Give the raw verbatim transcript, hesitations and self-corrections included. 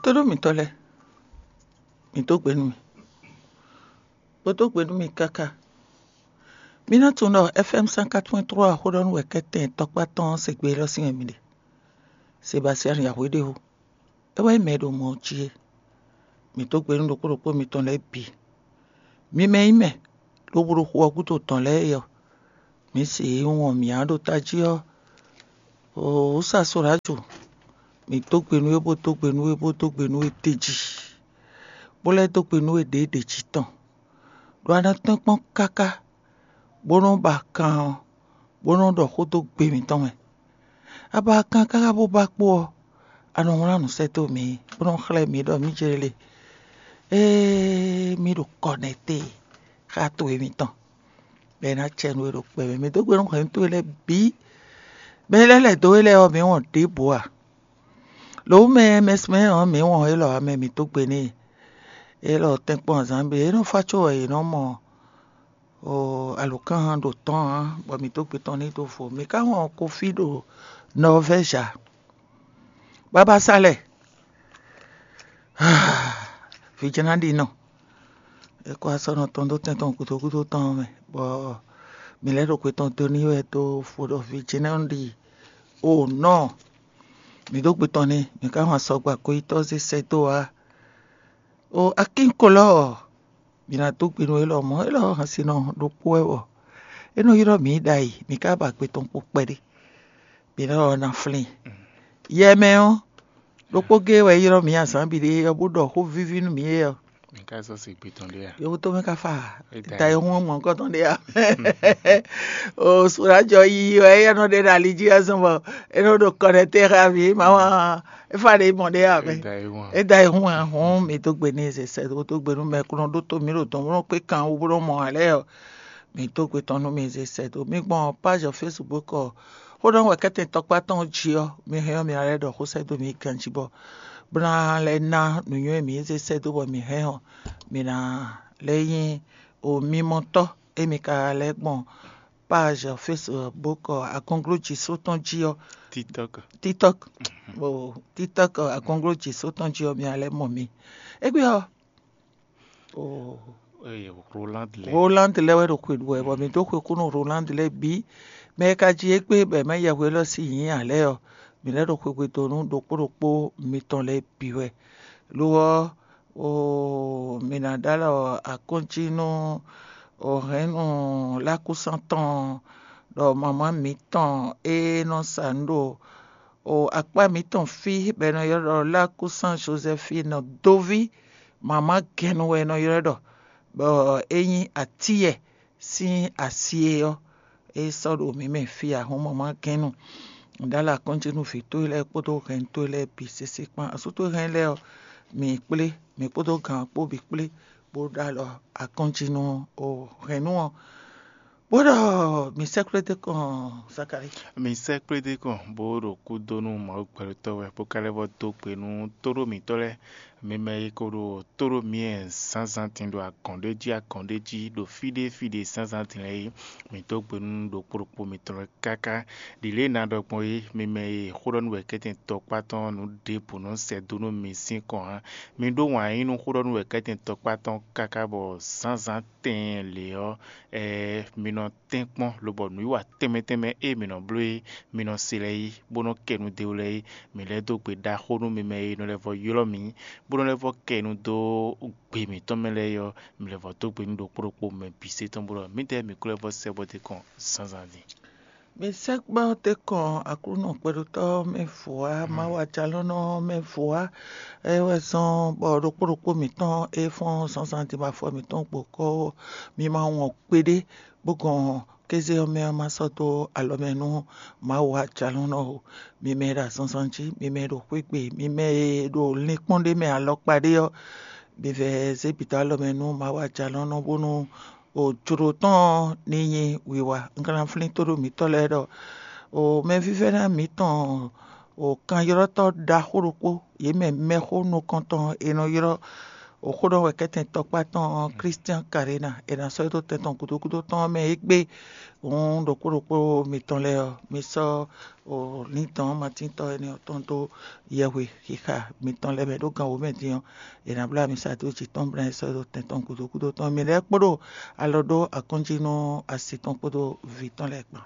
Tóɖó mǐtɔn lɛ́ɛ, mǐ dó gbe nú mì, bó dó gbe nú mì káká. Mi ná tunwun ɖɔ F M cent quatre-vingt-trois xó ɖɔ nú wɛ kɛ́tɛn tɔkpá tɔn ɔ́ se gbe élɔ́ sín wɛ mi ɖe. Sebastian Yahweh ɖe ó, é wɛ nyí mɛ e ɖo mɔ ɔ́ jí é. Mǐ dó gbe nú ɖokpó ɖokpó mitɔn lɛ́ɛ bǐ. Mi mɛ e nyí mɛ lobo ɖo xu ɔ́ gúdo dɔ̌n lɛ́ɛ é ɔ́, mǐ se e wɔn mǐ ǎ ɖo tají ɔ́, wǔ sa Soláju, mǐ dó gbe nú we, bó dó gbe nú we, bó dó gbe nú we d'é jí, bó lɛ́ dó gbe nú we ɖě ɖě jí tɔn, ɖo a nɔ tɛ́nkpɔ́n káká, bó nɔ́ ba kan ɔ́, bó nɔ́ ɖɔ xó dó gbe mǐtɔn mɛ. A ba kan káká bó ba kpó ɔ́, a nɔ wlán nǔ sɛ́ dó mǐ, bó nɔ́ xlɛ́ mǐ ɖɔ mǐ jɛ lě. Ée mǐ ɖo kɔnɛte xá towe mitɔn, bɔ é ná cɛ nú we ɖo kpɛmɛ. Mǐ dó gbe nú hɛ̌nnu towe lɛ́ɛ bǐ. Mɛ e lɛ́ lɛ̌ dó we lɛ́ɛ ɔ́, mǐ wɔn ɖěbǔ ǎ. Lǒ mɛ mɛsɛn ɔ́, mǐ wɔn élɔ́ ǎ mɛ, mǐ dó gbe n'i. Élɔ́ tɛ́nkpɔ́n azǎn bǐ é nɔ fá có wɛ yě nɔ mɔ alǒkan ɖo tɔ́n ǎ, bɔ mǐ dó gbe tɔn n'i dó vo. Mǐ ka wɔn kofi ɖo Nɔvɛ́zi ǎ. Babasálɛ, vǐ jɛ́n ná ɖi nɔ. É kó asɔ́nɔ tɔn dó tɛn tɔn gúdo gúdo tɔn ɔ́ mɛ, bɔ mǐ lɛ́ ɖo gbe tɔn dó n'i wɛ dó fo ɖɔ vǐ jɛ́n ná ɖi o nɔ. Mǐ dó gbe tɔn n'i, mǐ ka hɔn asɔgba goyítɔ́ zé sɛ́ dó ǎ. O akínkolɔ́ ɔ́, mǐ ná dó gbe nú élɔ́ mɔ̌, élɔ́ hɛn sin nɔ ɖokpó wɛ wɔ. É nɔ ylɔ́ mǐ ɖ'ayǐ, mǐ ka ba gbe tɔn kpo kpɛɖé. Mǐ nɔ ɔ́ ná flín. Yɛ mɛ ɔ́, ɖokpó géé wɛ é ylɔ́ mǐ azǎn bǐ ɖé ɔ́, bó ɖɔ xó víví nú mǐ é ɔ́. Mi ka sɔ́ se gbe tɔn ɖé a? Yovótomɛ ka fa da e hun mɔ̌kɔtɔn ɖé a? O sùrájɔ yiyi wɛ é nɔ ɖe ɖo ali jí wɛ zɔn bɔ é nɔ ɖo kɔɖɛtɛ xá mǐ, mama é fa ɖe mɔ ɖé a mɛ. É da e hun a hɔn mǐ dó gbe n'i zɛ sɛ dó gbe nú mɛ kúnɔ ɖótó mǐ ɖo dɔn bó nɔ kpé kan wú bó nɔ mɔ ǎ lɛ́ɛ ɔ́, mǐ dó gbe tɔn nú mǐ zɛ sɛ dó. Mǐ gbɔn page Facebook ɔ́, xó ɖɔ wɛ kɛ́tɛn tɔkpá tɔn jí ɔ́, mi hɛn ɔ́ mi ná lɛ́ ɖɔ xó sɛ́ dó mǐ ganjí bɔ bó ná lɛ́ ná nǔnywɛ́ mǐ e zé sɛ́ dó bɔ mǐ hɛn ɔ́, mǐ ná lɛ́ nyí o mimɔtɔ́ e mi ka lɛ́ gbɔn page Facebook agɔnglo jǐ só tɔn jí ɔ́, TikTok. TikTok, o TikTok agɔnglo jǐ só tɔn jí ɔ́, mi ná lɛ́ mɔ mi. Égbé ɔ́, o Roland lɛ. Roland lɛ́ɛ wɛ ɖo xwe ɖu wɛ, bɔ mǐ dó xwe kú nú Roland lɛ́ɛ bǐ. Mɛ e ka jí égbé bɔ è mɛ yɛhwe élɔ́ sín nyǐ ǎ lɛ́ɛ ɔ́, mǐ lɛ́ ɖo xwegbe dó nú ɖokpó ɖokpó mitɔn lɛ́ɛ bǐ wɛ. Lo ɔ́, o mǐ ná ɖó alɔ akɔ́njí nú o hɛ̌nnu lákúsán tɔn ɖɔ mamá mǐtɔn e nɔ sa nǔ ɖo o akpá mǐtɔn fí bɔ è nɔ ylɔ́ ɖɔ lákúsán Jozɛfín dóví, mamá gɛ́nnu wɛ è nɔ ylɔ́ ɖɔ, bɔ é nyí atíyɛ sín asi é ɔ́, é sɔ́ ɖo mǐ mɛ fí ǎ, hɔn mamá gɛ́nnu. Ɖó alɔ akɔ́njí nú vǐ towe lɛ́ɛ kpódó hɛn towe lɛ́ɛ bǐ sésé kpán. Asú towe hɛn lɛ́ɛ ɔ́, mǐ kplé, mǐ kpódó gǎn ɔ́ kpó bǐ kplé, bó ɖó alɔ akɔ́njí nú o hɛ̌nnu ɔ́, bó ɖɔ mǐ sɛ́ kplé dó kɔn Zakalíi. Mi sɛ́ kplé dó kɔn bó ɖo kú dó nú Mawu gbɛɖotɔ́ wɛ, bó ka lɛ́ vɔ dó gbe nú tóɖó mǐtɔn lɛ́ɛ. Mi mɛ e ko ɖo tóɖó mǐ zǎnzǎn din ɖo agɔ̌n ɖé jí agɔ̌n ɖé jí ɖo fí ɖé fí ɖé zǎnzǎn din lɛ́ɛ é, mǐ dó gbe nú ɖokpó ɖokpó mitɔn lɛ́ɛ káká. Ɖi lě e ná ɖɔ gbɔn é, mi mɛ e xó ɖɔ nú wɛ kɛ́tɛn tɔkpá tɔn nǔ ɖěbǔ nɔ sɛ dó nú mi sín kɔn ǎ, mi ɖó wǎn yí nú xó ɖɔ nú wɛ kɛ́tɛn tɔkpá tɔn káká bɔ zǎnzǎn tɛɛn lě ɔ́, ɛɛ mi nɔ tɛ́nkpɔ́n, lobɔ nǔwiwa tɛnmɛ tɛnmɛ e mǐ nɔ bló é, mi nɔ se lɛ́ɛ é, bó nɔ́ kɛ nu dó lɛ́ɛ é. Mǐ lɛ́ dó gbe ɖaxó nú mi mɛ e nɔ lɛ́ vɔ ylɔ́ mǐ, bó nɔ́ lɛ́ vɔ kɛ nu dó gbe mǐtɔn mɛ lɛ́ɛ é ɔ́, mǐ lɛ́ vɔ dó gbe nú ɖokpó ɖokpó mɛ bǐ se tɔn bó ɖɔ mǐdɛɛ mǐ ko lɛ́ vɔ sɛ bɔ dó kɔn zǎnzǎn din. Mi sɛ́ gbɛ́ ɔ́ tɛ́ kɔn Aklúnɔ kpɛɖotɔ́ mɛ vɔ̌ á, Mawu ajalɔ́nɔ mɛ vɔ̌ á. É wɛ zɔ́n bɔ ɖokpó ɖokpó mǐtɔn e fɔ́n zǎnzǎn din bɔ afɔ mǐtɔn gbo kɔ́, mi ma wɔn kpeɖé bó gɔn kéze ɔ́ mɛ ɔ́ ma sɔ́ dó alɔ mɛ nú Mawu ajalɔ́nɔ o. Mi mɛ e ɖo azɔnzɔn jí, mi mɛ e ɖo xwé gbe, mi mɛ e ɖo linkpɔ́n ɖé mɛ alɔkpa ɖé ɔ́, mi vɛ zé bǐ dó alɔ mɛ nú Mawu ajalɔ́nɔ bónú o jlǒ tɔn ɔ́ ní nyí wiwa. Un ka ná flín tóɖó mǐtɔn lɛ́ɛ ɖɔ o mɛvívɛ́ná mǐtɔn o kanylɔ́tɔ́ ɖaxó ɖokpó, yě mɛ mɛxó nukɔntɔn e nɔ ylɔ́ Oxó ɖɔ wɛ kɛ́tɛn tɔkpá tɔn Christian Karena è nǎ sɔ́ dó tɛn tɔn gúdo gúdo tɔn mɛ é gbé. Hǔn ɖokpó ɖokpó mitɔn lɛ́ɛ ɔ́, mi sɔ́ lǐndɔ̌n matíntɔ́ énɛ́ ɔ́ tɔn dó yɛhwe xixa mitɔn lɛ́ɛ mɛ ɖó gan wǒ mɛ din ɔ́, è nǎ bló ami sa dó jǐ tɔn bla ɛ sɔ́ dó tɛn tɔn gúdo gúdo tɔn. Mi lɛ́ kpo ɖo alɔ ɖó akɔ́njí nú asi tɔn kpódó vǐ tɔn lɛ́ɛ kpán.